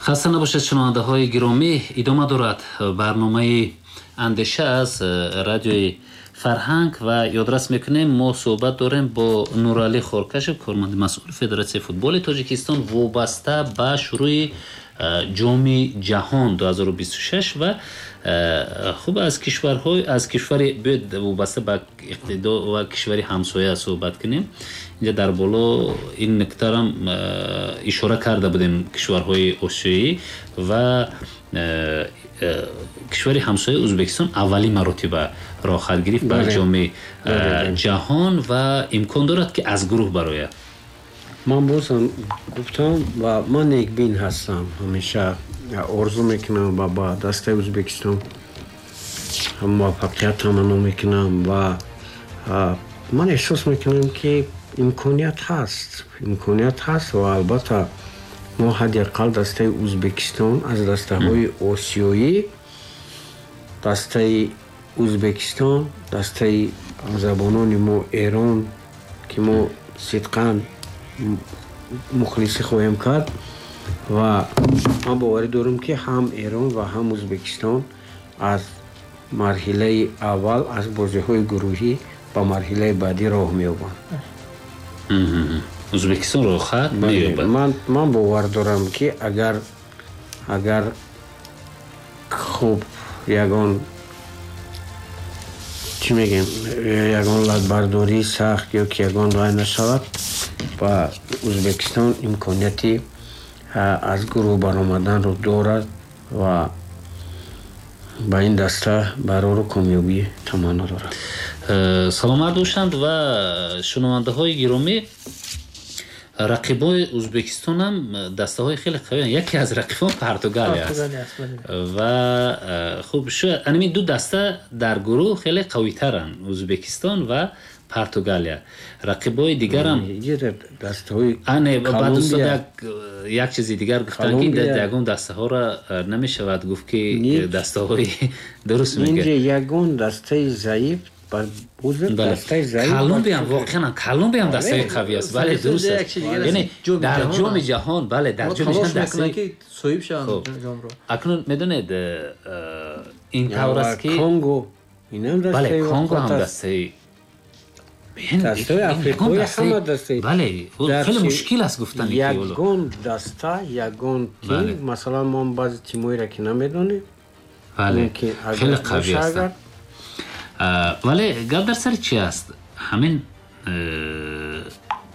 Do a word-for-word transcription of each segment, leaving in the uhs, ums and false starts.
Хаста набошед, шунавандаҳои гиромӣ. Идома дорад барномаи «Андеша» аз Радиои Фарҳанг ва ёдрас мекунем, мо суҳбат дорем бо Нуралӣ Хоркашев, корманди масъули Федератсияи футболи Тоҷикистон, вобаста ба шурӯи Ҷоми ҷаҳон ду ҳазору бисту шаш ва хуб, аз кишварҳои, аз кишвари, биёед, вобаста ба иқтидо ва кишвари ҳамсоя суҳбат кунем. Инҷа дар боло ин нуктарам ишора карда будем: кишварҳои осиёӣ ва кишвари ҳамсояи Ӯзбекистон аввалин маротиба роҳхат гирифт ба Ҷоми ҷаҳон ва имкон дорад, ки аз гурӯҳ барояд. Ман бозам гуфтам ва ман некбин ҳастам. Ҳамеша орзу мекунам ва ба дастаи Ӯзбекистон муваффақият таманно мекунам ва ман эҳсос мекунам, ки имконият ҳаст, имконият ҳаст ва албатта мо ҳадди ақал дастаи Ӯзбекистон, аз дастаҳои осиёӣ дастаи Ӯзбекистон, дастаи ҳамзабонони мо Эрон, ки мо сидқан мухлисӣ хоҳем кард, ва ман боварӣ дорам, ки ҳам Эрон ва ҳам Ӯзбекистон аз марҳилаи аввал, аз бозиҳои гурӯҳӣ ба марҳилаи баъдӣ роҳ меёбанд. Ӯзбекистон роҳхат меёбад. Ман бовар дорам, ки агар агар хуб ягон, чӣ мегӯем, ягон латбардории сахт ё ки ягон вай нашавад, ба Ӯзбекистон имконияти аз гурӯҳ баромаданро дорад ва ба ин даста барору комёбӣ таманно дорад. э, саломат бошанд. Ва шунавандаҳои гиромӣ, рақибои Ӯзбекистонам дастаҳои хеле қавиянд. Яке аз рақибон Португалия аст ва э, хуб, шояд анами ду даста дар гурӯҳ хеле қавитаранд, Ӯзбекистон ва Португалия. Рақибои дигарам баъд устод як чизи дигар гуфтанд, ки ягон дастаҳоро э, намешавад гуфт, ки дастаҳои дуруст. Мегӯяд, ягон дастаи заиф. Колумбиям, воқеан Колумбиям дастаи қавӣ аст. Бале, дуруст аст. Яъне дар Ҷоми ҷаҳон, бале, дар Ҷоми ҷаҳон дастаи соҳиб шаванд ҷомро. Акнун медонед, э, ин тавр аст, ки Конго. Бале, Конго ҳам дастаи дастаи африқои, ҳама дастаи. Бале, хеле мушкил аст гуфтани. Ягон даста, ягон тим, масалан, мо баъзе тимҳоеро ки намедонем. Бале, хеле қавӣ ҳастанд. Вале гап дар сари чи аст? Ҳамин э,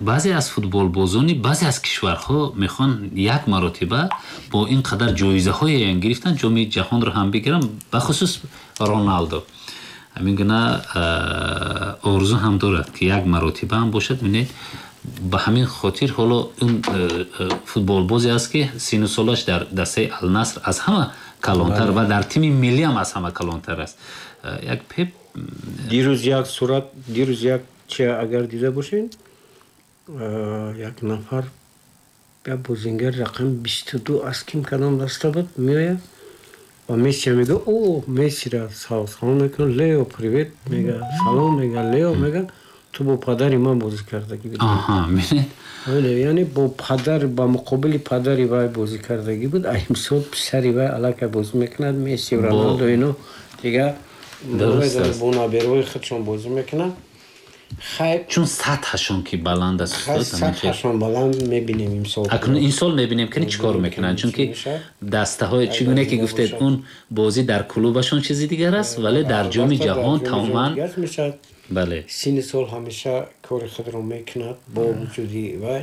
баъзе аз футболбозони баъзе аз кишварҳо мехоҳанд як маротиба бо ин қадар ҷоизаҳое гирифтан, Ҷоми ҷаҳонро ҳам бигиранд, бахусус Роналдо ҳамин гуна орзу ҳам дорад, ки як маротиба ҳам бошад. Бинед, ба ҳамин хотир ҳоло ин э, э, футболбозе аст, ки сину солаш дар дастаи Алнаср аз ҳама калонтар ва дар тими миллӣ ҳам аз ҳама калонтар аст. Як Пеп. Дирӯз як сурат, дирӯз як чи агар дида бошед, як нафар, як бозингар рақами бисту ду аз ким, кадом даста буд, меояд ва Мессия мега, о, Мессира салом мекунад: «Лео, привет», мега, салом мега, «Лео», мега, «ту бо падари ман бозӣ кардагӣ будӣ». Яъне бо падар, ба муқобили падари вай бозӣ кардагӣ буд. А имсол писари вай аллакай бозӣ мекунад. Месси, Роналдо, ино дигар бо набераҳои худшон бозӣ мекунанд. Чун сатҳашон ки баланд аст. Сатҳашон баланд, мебинем имсол. Акнун ин сол мебинем, ки чӣ кор мекунанд, чунки дастаҳои, чӣ гуне ки гуфтед, он бозӣ дар клубашон чизи дигар аст, вале дар Ҷоми ҷаҳон тамоман. Бале, синни сол ҳамеша кори худро мекунад. Бо вуҷуди вай,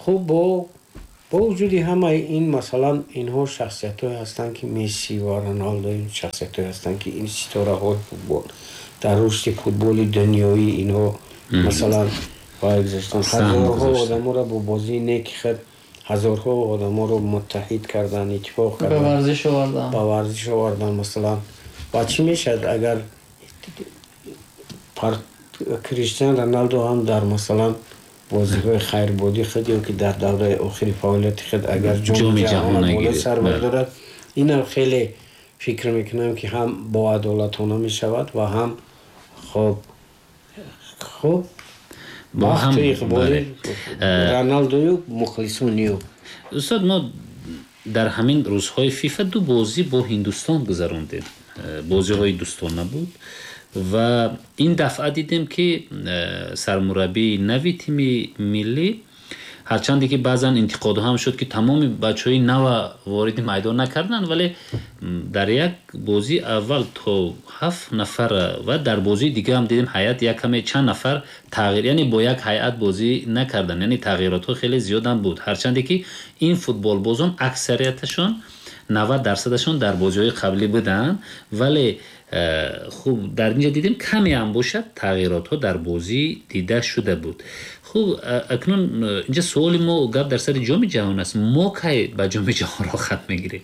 хуб, бо бо вуҷуди ҳамаи ин, масалан, инҳо шахсиятҳое ҳастанд, ки Месси ва Роналдо ин шахсиятҳое ҳастанд, ки ин ситораҳои футбол, дар рушди футболи дунёӣ инҳо, масалан, вай гузаштанд, ҳазорҳо одаморо бо бозии неки худ ҳазорҳо одаморо муттаҳид кардан, иттифоқ кардан, ба варзиш овардан. Ба варзиш овардан, масалан. Ва чӣ мешавад, агар Криштиан Роналдо ҳам дар, масалан, бозиҳои хайрбодии худ ё ки дар давраи охири фаъолияти худ агар Ҷоми ҷаҳонро боло сар бардорад, инам хеле фикр мекунам, ки ҳам боадолатона мешавад ва ҳам хуб хуб бахту иқболи Роналдою мухлисони ӯ. Устод, мо Дар ҳамин рӯзҳои ФИФА ду бозӣ бо Ҳиндустон гузарондем. Бозиҳои дӯстона буд ва ин дафъа дидем, ки сармураббии нави тими миллӣ, ҳарчанде ки баъзан интиқодҳо ҳам шуд, ки тамоми бачаҳои нава вориди майдон накарданд, вале дар як бозии аввал то ҳафт нафар ва дар бозии дига ҳам дидем ҳайат як каме чанд нафар тағйир, яъне бо як ҳайат бозӣ накарданд, яъне тағйиротҳо хеле зиёдам буд. Ҳарчанде ки ин футболбозон аксарияташон навад дарсадашон дар бозиҳои қаблӣ буданд, вале хуб дар инҷа дидем каме ҳам бошад тағйиротҳо дар бозӣ дида шуда буд. Хуб, акнун инҷа суоли мо гап дар сари Ҷоми ҷаҳон аст. Мо кай ба Ҷоми ҷаҳон роҳхат мегирем?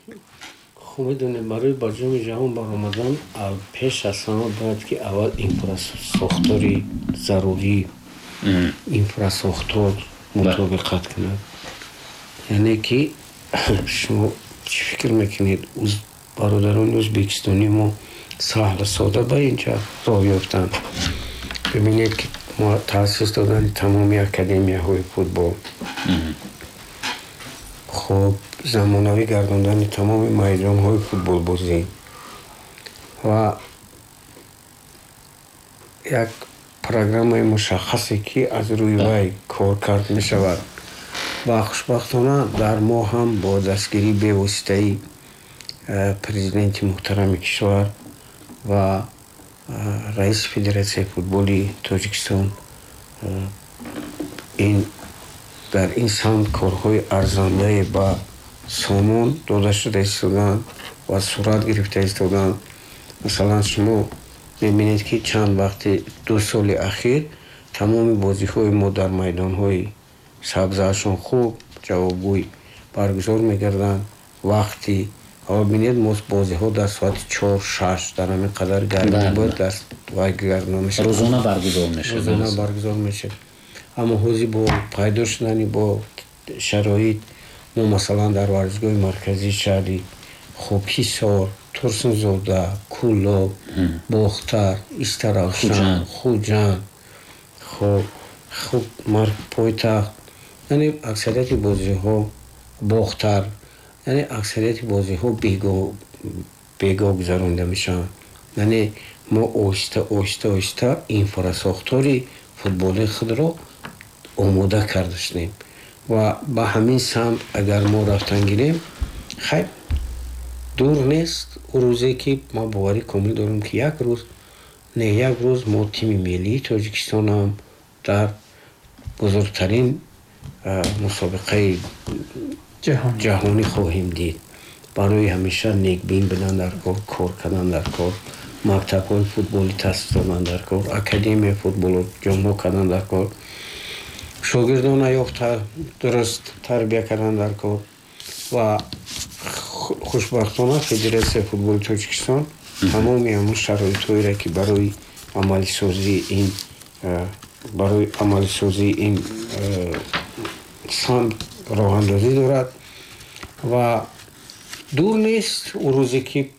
Хуб, медонем, барои ба Ҷоми ҷаҳон баромадан пеш аз ҳама бояд ки аввал инфрасохтори зарурӣ, инфрасохтор мутобиқат кунад. Яъне ки шумо чӣ фикр мекунед, бародарони ӯзбекистонии мо саҳлу сода ба инҷа роҳ ёфтанд? Бибинед, ки таъсис додани тамоми академияҳои футбол, хуб, замонавӣ гардондани тамоми майдонҳои футболбозӣ ва як программаи мушаххасе, ки аз рӯи вай кор кард мешавад. Ва хушбахтона дар мо ҳам бо дастгирии бевоситаи президенти муҳтарами кишвар ва раиси Федератсияи футболи Тоҷикистон ин дар ин самт корҳои арзандае ба сомон дода шуда истоданд ва сурат гирифта истоданд. Масалан, шумо мебинед, ки чанд вақти ду соли ахир тамоми бозиҳои мо дар майдонҳои сабзаашон хуб, ҷавобгӯй баргузор мегарданд. Вақти аввал бинед, мо бозиҳо дар соати чор, шаш, дар ҳамин қадар гармӣ буд, дар вай гардона мешуд. Рӯзона баргузор мешуд. Рӯзона баргузор мешуд. Аммо ҳозир бо пайдо шудани бо шароит мо, масалан, дар варзишгоҳи марказии шаҳри хуб Ҳисор, Турсунзода, Кӯлоб, Бохтар, Истаравшан, Хуҷанд, хуб хуб пойтахт, яъне аксарияти бозиҳо Бохтар, яъне аксарияти бозиҳо бегоҳ гузаронида мешаванд. Яъне мо оҳиста оҳиста оҳиста инфрасохтори футболи худро омода карда шудем ва ба ҳамин самт агар мо рафтан гирем, хайр, дур нест ӯ рӯзе, ки ман боварӣ комил дорам, ки як рӯз не як рӯз мо тими миллии Тоҷикистонам дар бузургтарин мусобиқаи ҷаҳонӣ хоҳем дид. Барои ҳамеша некбин будан дар кор, кор кардан дар кор, мактабҳои футболӣ таъсис додан дар кор, академияи футболро ҷонбо кардан дар кор, шогирдона ёфта дуруст тарбия кардан дар кор. Ва хушбахтона Федератсияи футболи Тоҷикистон тамоми ҳамон шароитҳоеро, ки барои амалисозии ин барои амалисозии ин самт роҳандозӣ дорад. Ва дур нест ӯ рӯзе, ки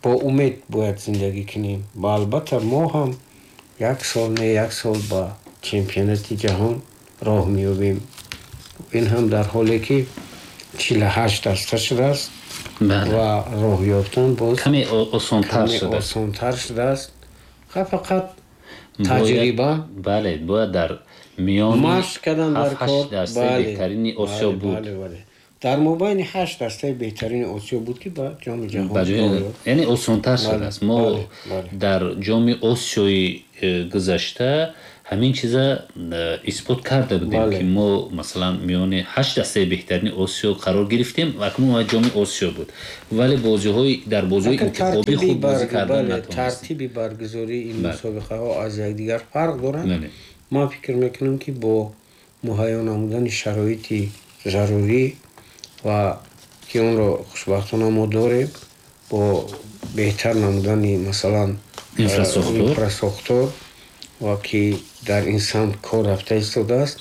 бо умед бояд зиндагӣ кунем. Ва албатта мо ҳам як сол не як сол ба чемпионати ҷаҳон роҳ меёбем. Ин ҳам дар ҳоле ки чилу ҳашт даста шудааст ва роҳ ёфтан боз каме осонтар шудааст. Осонтар шудааст. Фақат таҷриба. Бале, бояд дар миёни машқ кардан дар кор. Дастаи беҳтарини Осиё буд. Дар мобайни ҳашт дастаи беҳтарини Осиё буд, ки ба Ҷоми ҷаҳон, яъне осонтар шудааст. Мо дар Ҷоми Осиёи гузашта ҳамин чиза исбот карда будем, ки мо, масалан, миёни ҳашт дастаи беҳтарини Осиё қарор гирифтем ва акнун Ҷоми Осиё буд, вале бозиҳои дар бозиҳои интихобӣ хуб бозӣ кардан натавонистем. Тартиби баргузории ин мусобиқаҳо аз якдигар фарқ доранд. Ман фикр мекунам, ки бо муҳайё намудани шароити зарурӣ ва ки онро хушбахтона мо дорем, бо беҳтар намудани, масалан, инфрасохтор ва ки дар ин самт кор рафта истодааст,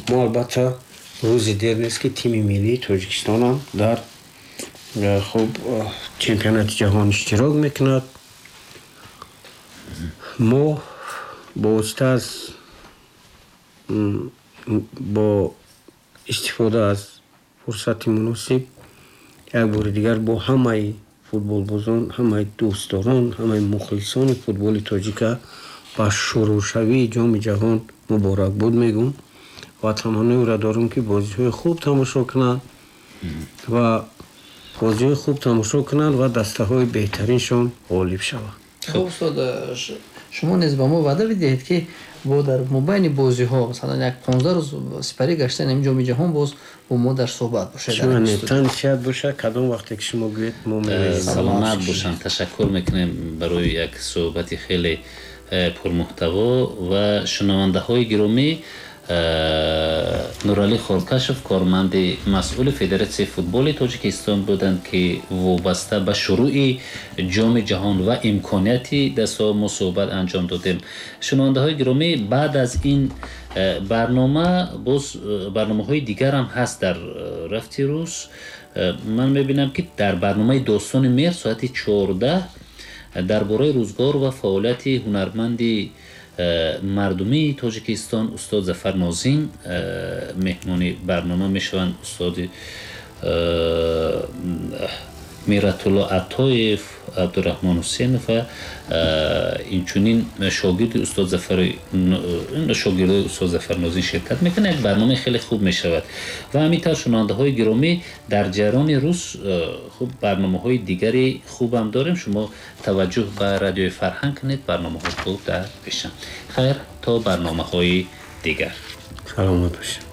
мо албатта рӯзи дер нест, ки тими миллии Тоҷикистонам дар хуб чемпионати ҷаҳон иштирок мекунад. Мо бо восита аз бо истифода аз фурсати муносиб Як бори дигар бо ҳамаи футболбозон, ҳамаи дӯстдорон, ҳамаи мухлисони футболи тоҷика ба шурӯъшавии Ҷоми ҷаҳон муборакбод мегӯм ва таманноеро дорам, ки бозиҳои хуб тамошо кунанд ва бозиҳои хуб тамошо кунанд ва дастаҳои беҳтариншон ғолиб шаванд. Хуб, устод, шумо низ ба мо ваъда бидиҳед, ки бо дар мобайни бозиҳо, масалан, як понздаҳ рӯз сипарӣ гаштани ҳамин Ҷоми ҷаҳон, боз бо мо дар суҳбат бошед. Тан сиҳат бошад, кадом вақте ки шумо гӯед, мо меоем. Саломат бошанд. Ташаккур мекунем барои як суҳбати хеле пурмуҳтаво. Ва шунавандаҳои гиромӣ, Нуралӣ Хоркашов, корманди масъули Федератсияи футболи Тоҷикистон буданд, ки вобаста ба шурӯъи Ҷоми ҷаҳон ва имконияти дастҳо мо суҳбат анҷом додем. Шунавандаҳои гиромӣ, баъд аз ин барнома боз барномаҳои дигарам ҳаст дар рафти рӯз. Ман мебинам, ки дар барномаи Достони меҳр соати чордаҳ дар бораи рӯзгор ва фаъолияти ҳунарманди мардумии Тоҷикистон устод Зафар Нозим меҳмони барнома мешаванд. Устоди Миратулло Атоев, Абдураҳмон Ҳусенов ва инчунин шогирди устод Зафари шогирдои устод Зафар Нозим ширкат мекунанд. Як барномаи хеле хуб мешавад. Ва ҳамин тавр, шунавандаҳои гиромӣ, дар ҷараёни рӯз хуб барномаҳои дигари хубам дорем. Шумо таваҷҷӯҳ ба Радиои Фарҳанг кунед, барномаҳои хуб дар пешанд. Хайр, то барномаҳои дигар. Саломат бошед.